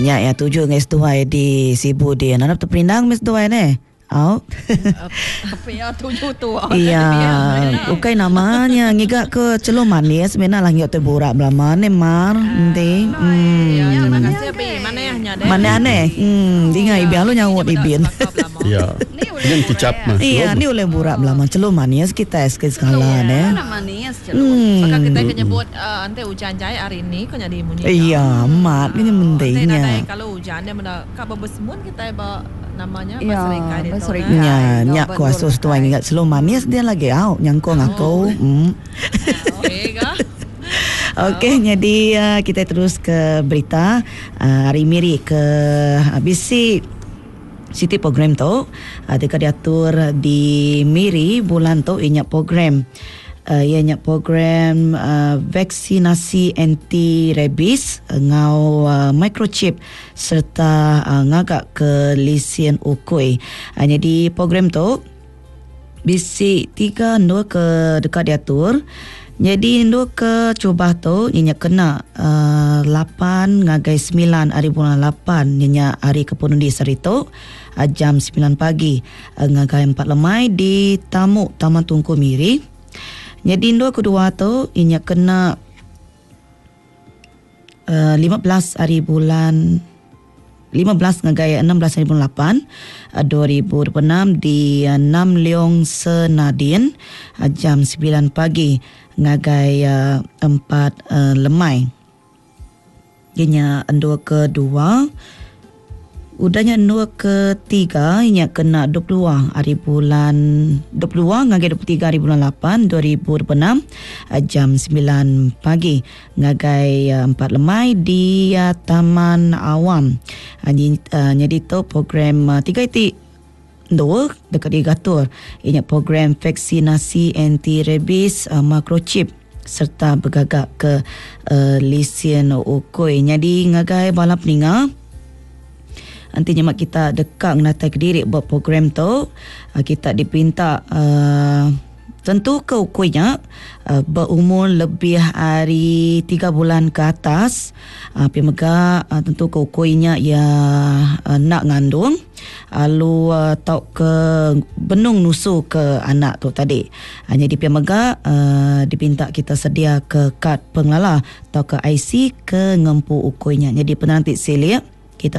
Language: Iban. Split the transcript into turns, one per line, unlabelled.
Nya ya tuju ngai seduai di Sibu di. Nanap terperindang meh seduai neh. Au.
Pia tuju tu.
Iya, ukai nama nya ngiga ke chelum manis mina lah ngiga tai burak belama neh mar enti.
Iya, terima kasih abi. Manah nya deh.
Manah neh. Hmm, dinga ibin lalu nyaut ibin.
Iya. Nyen kicap mah.
Iya, ni ulih burak belama chelum manis kitai sekali sekala neh.
Iya, manis chelum. Baka kitai ke nyebut enti ujan jai hari ni ko nyadi munyi nya.
Iya, amat nya penting
nya. Enti
nadai
kalu ujan dia meda ka bebesemun kitai ba Nama nya ba serikai ditu
neh. Nya nya ku asus tuai ngiga selu manis dia lagi au nyangkung aku.
Okey ga.
Okey nyadi kitai terus ke berita ari Miri ke bisi siti program tu deka diatur di Miri bulan tu iya nya program Iya nya program vaksinasi anti rabies enggau microchip sereta ngaga ke lisin ukui. Nyadi program tu bisi tiga endur ke deka diatur. Nyadi endur ke terubah tu iya nya kena lapan ngagai semilan ari bulan lapan iya nya hari ke penudi sehari tu jam semilan pagi ngagai empat lemai di Tamu Taman Tunku Miri. Nyadi endur kedua tu iya nya kena uh, 15 hari bulan 15 ngagai 16 hari bulan 8 2026 di Nam Leong Senadin jam 9 pagi ngagai 4 lemai. Iya nya endur kedua. Udah nya endur ketiga iya nya kena 22 hari bulan 22 ngagai 23 hari bulan 8 2026 jam 9 pagi ngagai 4 lemai di Taman Awam. Nyadi tu program tiga iti endur deka digatur iya nya program vaksinasi anti rabies microchip sereta begaga ke lisin ukui. Nyadi ngagai bala peninga enti nyema kita deka ngenatai kediri ba program tu kita dipinta Tentuka ukui nya beumur lebih ari tiga bulan ke atas. Pia mega tentuka ukui nya iya enda ngandung lalu tauka benung nusu ke anak tu tadi. Nyadi pia mega dipinta kita sediaka kad pengelala tauka IC ke ngempu ukui nya. Nyadi penerang ti silik.